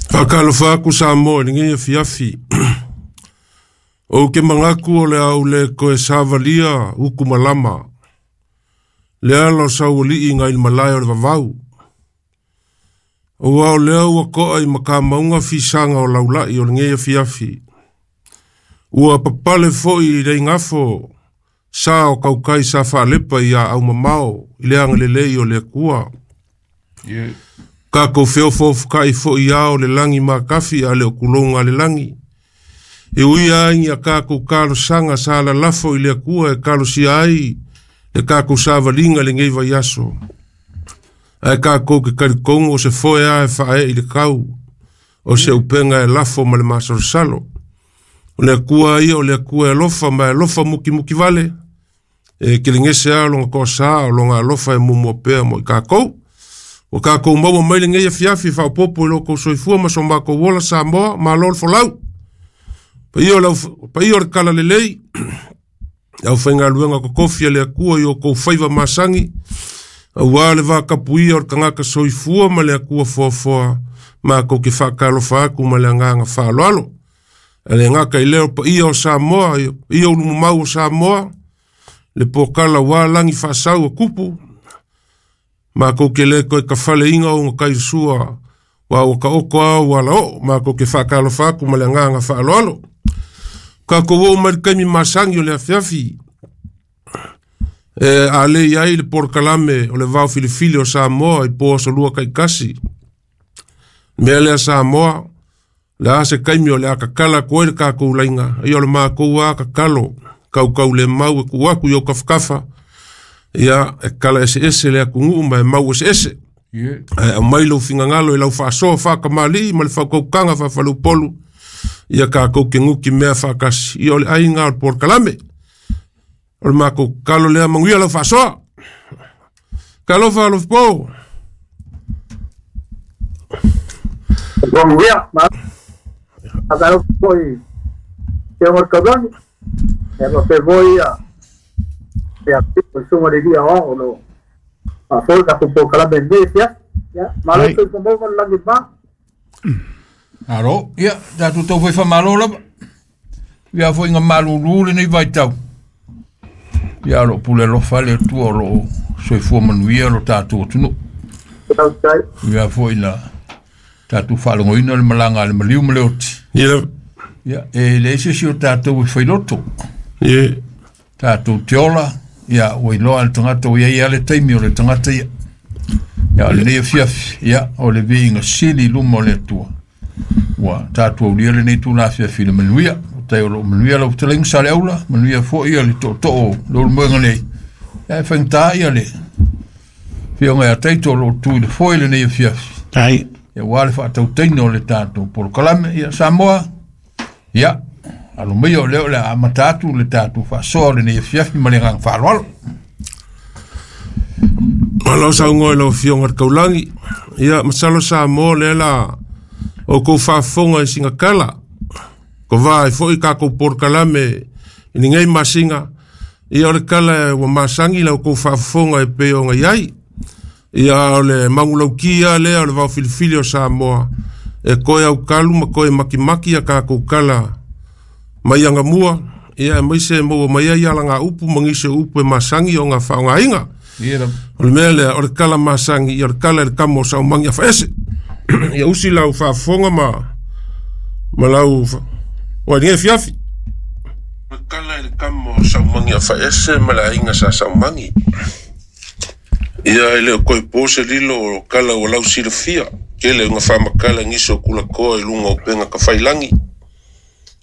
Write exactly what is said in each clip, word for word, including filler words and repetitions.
Faakalofa aku Samoa i lenei afiafi. Ou ke manatu o le a ou le toe savalia utu malama. Le ala o sauali'i nai le malae o le vavau. Auā o lea ua to'a i matamauga fisaga o laula'i o lenei afiafi. Ua papale fo'i i le igafo sa o tautai sa faalepa i aau mamao i le agalelei o le Atua. Yeah. Tatou feofoofota'i fo'i ao le lagi matafi a le o tuloga a le lagi. E ui ai ni a tatou talosaga sa lalafo i le Atua e talosia ai le tatou savaliga lenei vaiaso. Ae tatou ke talitonu o se foe a e faaee i le tau, o se upega e lafo ma le masalosalo. O le Atua ia o le Atua e alofa ma e alofa mukimuki vale, e kelegese a lona toasā o lona alofa e muamua pea mo i tatou. Ua tatou maua mai lenei afiafi faaopoopo i lo outou soifua ma so matou ola Samoa, malo le folau. Paia o le au- paia o le talalelei, le aufaigaluega totofi a le Atua i o outou faiva masagi, auā le vatapuia o le tagata soifua ma le Atua foafoa, matou te faatalofa atu ma le agaga faaaloalo. Ae le gata i lea o paia o Samoa, paia ulumamau o Samoa, le pokala ua lagi faasau o tupu, matou te le toe tafaleina o gatailesua, ua ua taoto a ua alaoo, matou te faatalofa atu ma le agaga faaaloalo. Tatou oo mai le taimi masani o le afiafi, e a le i ai le polokalame o le vaofilifili o Samoa i po aso lua taitasi. Mea lea Samoa, le a se taimi o le a tatala atu ai le tatou laina, ia o le matou a tatalo, kaukaulemau e tuu atu i ou tafatafa, ia e tala eseese le atunuu ma e mau eseese. Yeah. Ae aumai lou finagalo i lau faasoa faatamalii ma le faautautaga faafaleupolu, ia tatou ke guti mea faatasi, ia o le aiga o le polokalame. O le matou tatalo lea, manuia lau faasoa. Talofa alofapo. Bom dia, ma agora foi tem uma cabana, é você foi a é a tipo suma de dia ó no a foi ka po kala bende ya ya malo Ai. ko mo mo langi ba. Alo, ia, tatou tau fai faamalo lava. Ia foi nga malulu lenei vaitau. Ia o loo pule alofa le Atua o loo soifua manuia lo tatou atunuu. Tai. Ia foi na tatou faalogoina le malaga a le maliu ma le oti. Ia, Ia, e leai se isi o tatou e failoto. Ia, Tatou te ola, ia, ua iloa le tagata ua iai lava le taimi o le tagata ia. Ia, o lenei afiafi, ia, o le viiga sili i luma o le Atua. Ua tatou aulia lenei tula afiafi i le manuia. O tai o loo manuia lau fetalaiga sa le aula, manuia foi ia le tootoo o le ulumoega nei. Ia, e faigata ia le afioga ia Taito o loo tu i le foe lenei afiafi. Tai. Ia ua le faatautaina o le tatou polokalame. Ia, Samoa, ia, alo maia o lea o le a amata atu le tatou faasoa o lenei afiafi ma le agaga faaaloalo. Malo saunoa i lau afioga i le Taulagi. Ia, masalo Samoa lea la outou faafofoga i sina tala. Kovā ai fo'i tatou polokalame i lenei masina. Ia o le tala ua masani la outou faafofoga e pei ona i ai. Ia o le magulauki a lea o le vaofilifili o Samoa. E toe aukalu ma toe makimaki a tatou tala mai agamua. Ia aemaise e maua mai ai alagaupu ma nisi o upu e masani ona faaaogaina. Ia lava. O le mea lea, o le tala masani, ia o le tala i le kama o saumagi afaese. Ia usi lau faafofoga ma, ma lau... Fa... Ua lenei afiafi. O le tala i le kama o saumagi afaese ma le aiga sa saumagi. Ia e le o toe po se lilo o kala ua lau silafia. Tele ona faamakala nisi o kulakoa i luga o upega tafailagi.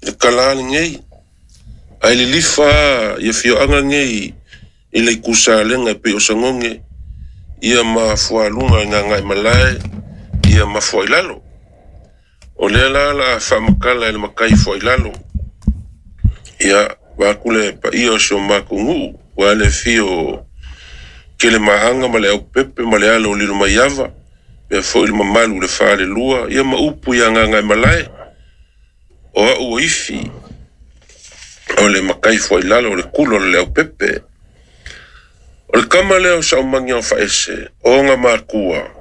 I le tala a lenei. Ae lilifa a ia afioaga nei i le itusalega e pei o Sagoge, ia ma fualuga i Gagaemalae, ia ma Fuailalo. O lea la la faamakala e le matai Fuailalo. Ia, vaeatu le paia o si o matou nuu, ua le afio o Kelemaaga ma le Aupepe ma le alo o Lilomaiava, pea foi le mamalu i le falelua, ia ma upu ia Gagaemalae. O au o ifi, o le matai Fuailalo o le kulo o le Aupepe. O le kama lea o saumagi o faese, o ona makua,